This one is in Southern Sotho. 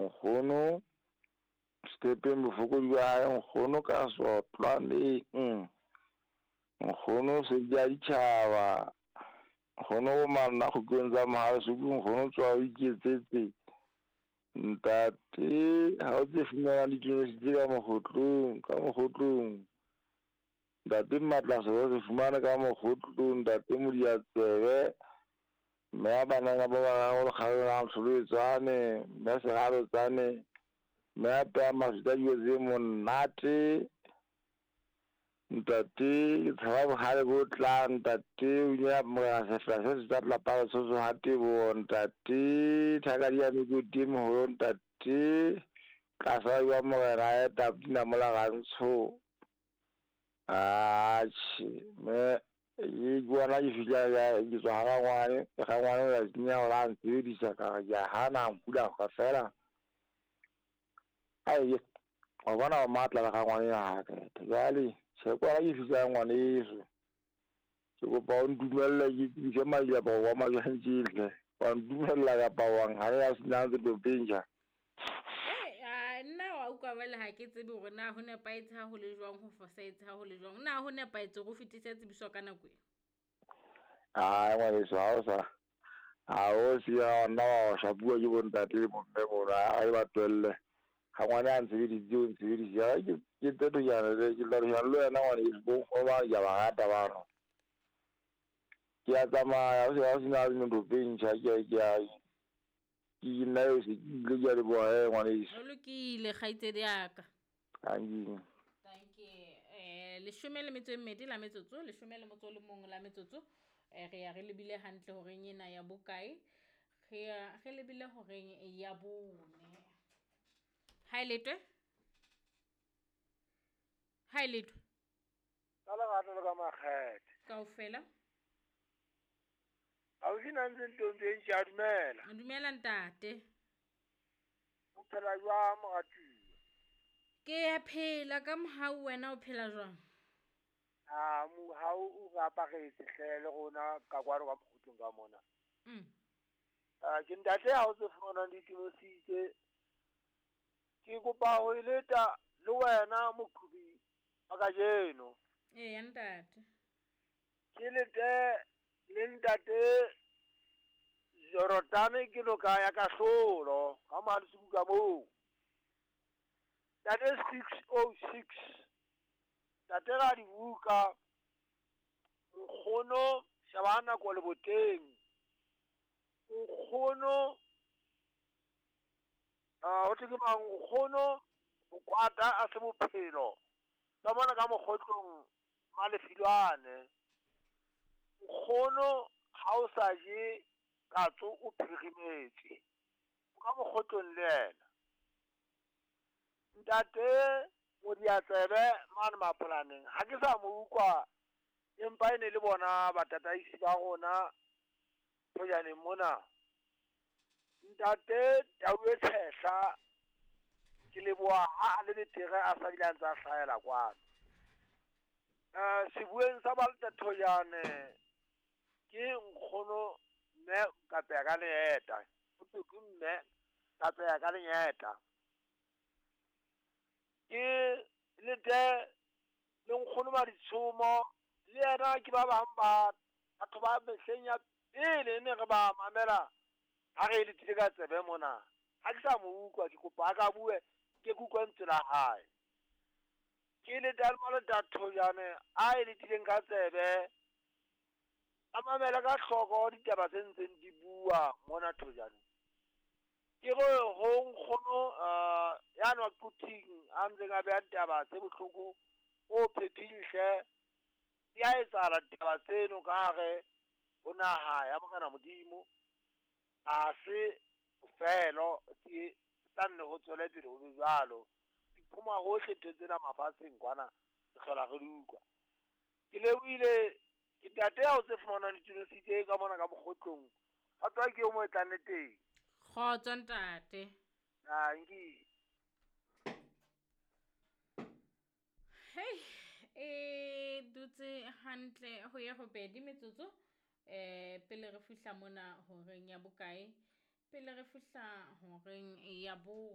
Nkgono Setepeng bofokodi ba hae, nkgono ka sotlwaneng. Nkgono sedi a ditjhaba. Nkgono o manna kgutlong tsa Mohale's hoek, nkgono tswa o iketsetse. Ntate ha o tse fumanang ditonositse ka mokgotlong, ka mokgotlong. Ntate Matla se fumane ka mokgotlong, ntate Modiatsebe. Mme a banana ba bararo lekgabeng la Ntlholoetsane, mme Seralotsane, mme a peha maswitsa dijo tse monate. Ntate ke tshaba bohale bo tlang, ntate o ile morena sefela se se tsa lapa Lesotho ha teboho, ntate thakadi ya mekoti e meholo, ntate tlasa wa morena a eta pina mola rantsho. Atjhe, mme ke bona ke fihla ke tswa ha rangwane, rangwane o la tsenya hore a nsebedisa ka re ke a hana a mpula ka fela. Ai, wa bona o matla le rangwane ya ka. Jwale tjhe kwala ke fihla ngwaneso. Ke kopa o ntumelle ke tsebise madiaparo wa majwang hle. Wa ntumella kapa wa nhanela sena ntse topeng. Nna wa utlwa jwale ha ke tsebe hore na ho nepahetse ha ho le jwang, ho fosahetse ha ho le jwang. Na ho nepahetse hore o fetise tsebiso ka nako e? Ai ngwaneso ha o sa ha o siya nna wa shapuwa ke bontate le bomme mono, a ba tlohelle. Ha ngwana a ntshebedisitse o ntshebedisitse. Ke tse thojana le ke tla thojana le wena ngwaneso, bo nkgono ba ke a ba rata bano. Ke a tsamaya ho se sena ntho ntjha ke a ke nna eo se ke ile ke a leboha he ngwaneso. Ho lokile kgaitsedi ya ka. Thank you. Thank you. 12 la metsotso, 11 la metsotso. Re ya re lebile hantle horeng ena ya bokae? Re ya re lebile horeng ya 4. Ha e letwe? Ha e letwe? Ka lerato le ka makgethe. Kaofela. Ausi na ntse ntombi e ntjha, dumela. Dumela ntate. O phela jwang moratuwa? Ke a phela ka mohau, wena o phela jwang? A mohau o re aparetse hle le rona ka kwano ka mokgutlong ka mona. Ke ntate ha o tse fumanang ditonositse. Ke kopa ho e leta le wena moqhobi wa kajeno. Eya ntate. Ke lete le ntate Jorotane ke noka ya kahlolo ka Mohale's ka moo. Ntate 606. Ntate Radibuka, nkgono sheba nako le boteng. Nkgono ho thwe ke mang, nkgono bokwata a se bophelo. Ka mona ka mokgotlong Malefilwane. Nkgono ha o sa je katso o phirimetse. O ka mokgotlong le yena. Ntate Modiatsebe mane mapolaneng ha ke sa mo utlwa, empa e ne le bona batataisi ba rona thojaneng mona. Ntate Tau e Tshehla ke leboha ha a le betere a sa bile a ntse a hlahela kwano. Sebueng sa Balta Thojane ke nkgono mme Kapeya ka leeta. Ho thwe ke mme Kapeya ka lenyeta. Ke lete le nkgono Maditshomo le yena ke ba bang ba batho ba mehleng ya pele ne re ba mamela ha re letile ka tsebe mona. Ha ke sa mo utlwa, ke kopa a ka bue ke utlwe lentswe la hae. Ke lete le Malota Thojane a e letileng ka tsebe, a mamele ka hloko ditaba tse ntseng di bua mona Thojane. Ke re ho nkgono ya nwa Quthing a ntseng a beha ditaba tse bohloko o phephile hle. Di a etsahala ditaba tseno ka hare ho naha ya Morena Modimo. Ha se bofelo, ke tla nne ho tswele pele ho be jwalo. Di phuma hohle ntho tsena mafatsheng kwana, re hlola re di utlwa. Ke lebohile ke ntate ya o tse fumanang ditonositse ka mona ka mokgotlong. Kgotso ke o mo e tlang le teng. Kgotso ntate. Dankie. Hey, e dutse hantle ho ya ho pedi metsotso. Pele re fihla mona horeng ya bokae? Pele re fihla horeng ya bo